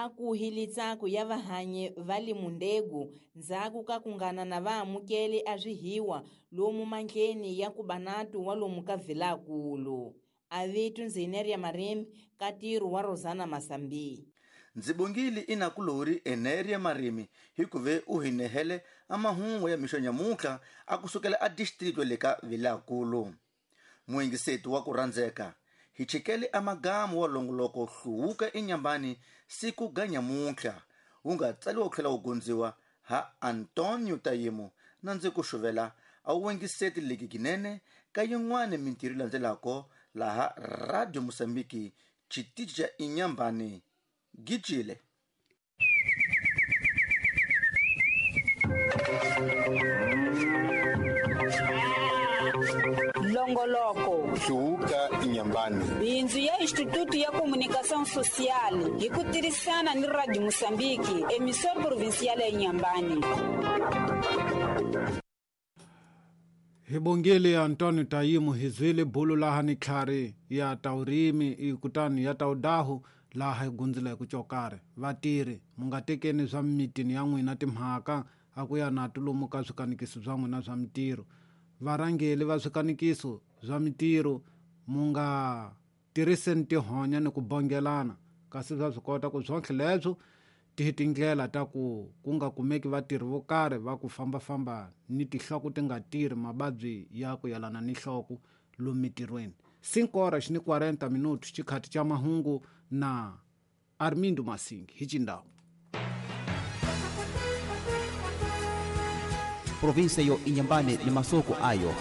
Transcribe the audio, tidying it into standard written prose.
Akuhi litsaku ya vahanyi va limundegu ndzhaku ka kungana na vaamukeli a swihiwa lomu mandleni ya kubanatu wa lomu ka Vilakulu. Avitu Nzineria Marimi ka ntirho wa Rosana Masambi. Ndzi bongile inakulori Eneria Marimi hikuve u hi nehele a mahungu ya mixo nyamuntlha a kusukela a district le ka Vilakulu. Muyingiseti wa ku rhandzeka, hi chikele a magamu wa longoloko hluvuka enyambani siku ga nyamuntlha wu nga tsaliwa ku tlhela wu gondziwa ha Antonio Tayimo na ndzi ku xuvela a wu wengiseti leki kinene ka yin'wana mintirho landzelako laha Radio Mosambiki xitichi xa Inyambani Gijile. Longoloko Hluvuka Inyambani, bindzu ya Instituto ya Comunicação Social hi ku tirhisana ni Radio Mosambiki, emissora provincial ya Inyambani. Hi bongile Antonio Tayimu hi zwile bulu laha ni tlhari ya taurimi kutani ya taudahu laha hi gundzila hi ku cokare. Vatirhi mu nga tekeni swa mimitini ya n'wina timhaka a ku ya na tulomu ka swikanikiso swa n'wina swa mitirho. Varhangeli va swikanikiso swa mitirho mu nga tirhiseni tihonya ni ku bongelana, kasi swa swi kota ku swontlhe leswo ti tindlela ta ku ku nga kumeki vatirhi vo karhi va ku fambafamba ni tinhloko ti nga tirhi mavabyi ya ku yelana ni nhloko lomu mitirhweni. 5:40 xikhati xa mahungu na Armindo Masingi hi Chindau. Provinsia yo Inyambane ni masoko ayo.